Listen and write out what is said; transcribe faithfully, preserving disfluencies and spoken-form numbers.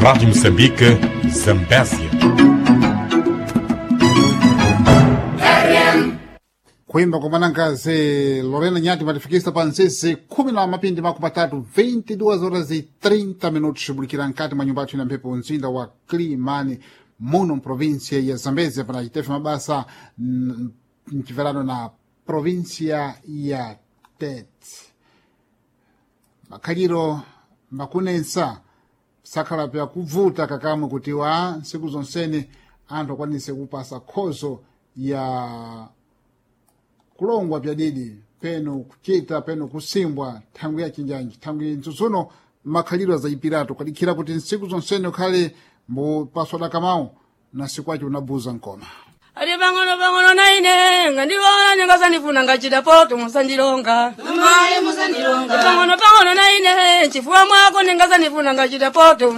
Rádio Moçambique, Zambésia. Kuimba kwa mwanankazi Lorena Nyati matifikisa pa nsisi khumi na mapindi makumi matatu, vinte e duas horas e trinta minutos, shughulikira nkati mwa nyumba yathu ina mphepo, mzinda wa Climane, muno mprovinsia ya Zambezia, pana chitefe mabasa mm, mchiverano na provinsia ya Tete. Makhaliro makunensa sakhala pyakuvuta kakamwe kuti wa ntsiku zonsene anthu akwanise kupasa khozo ya kulongwa pyadidi, peno kuchita, peno kusimbwa thangwi ya chinjanji, thangwi ntsutsuno makhalidwe azayipiratu kadikhira kuti ntsiku zonsene ukhale mbupaswa dakamawu na siku acho unabuza nkoma. Ali pang'ono pang'ono naine ngandilola ningasanifuna ngachita poto musandilonga. Amayi, musandilonga. Pang'ono pang'ono naine chifuwa mwako ningasanifuna ngachita poto.